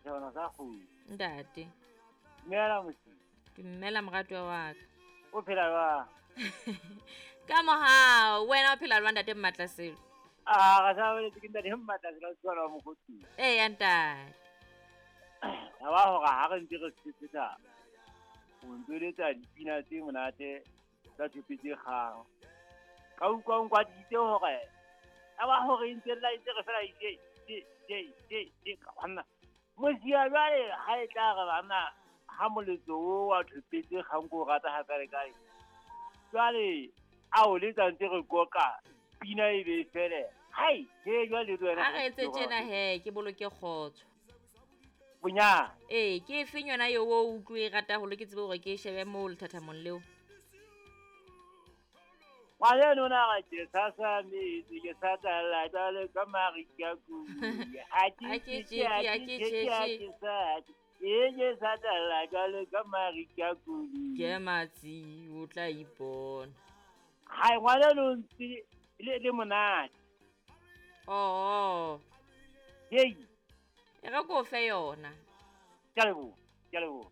Setjhabana sa kgomo. Ntate. Dumela mosi. Dumela moratuwa wa ka. O phela jwang? Ka mohau, wena o phela jwang ntate Mmatlaselo? Ah, ga sa boletse ke ntate Mmatlaselo o tswala wa mokgotsi. Ee ya ntate. Ya ba hore ha re ntse re sepetsa o ntse o letsa dipina tse monate tsa tshope tse kgang. Ka utlwa o nkwaditse hore ya ba hore e ntse lla e ntse re fela je je je je je ka banna. Mosia jwale ha e tla re banna ha moletso o wa thopetse kgang ko o rata ha kae kae. Jwale a o letsa ntse re koka pina e be e fele. Hai, he jwale le wena. A re etse tjena he, ke boloke kgotso. Bonyane. Ee, ke efeng yona eo o utlwe e rata haholo ke tsebe hore ke e shebe moo lethathamong leo? Ngwaneno na re ke sa sa metsi ke sa tlala jwalo ka marika kuya. Ha ke Ha ke tjeke, tjeke, ha ha ke ke tjeke, ha tjeke. ke sa tje. E ke sa tlala jwalo ka marika kuya. Ke matsi, o tla ipona. Hai, ngwaneno o ntse le le monate. Oo. Hei. E re ko fe yona. Ke a leboha, ke a leboha.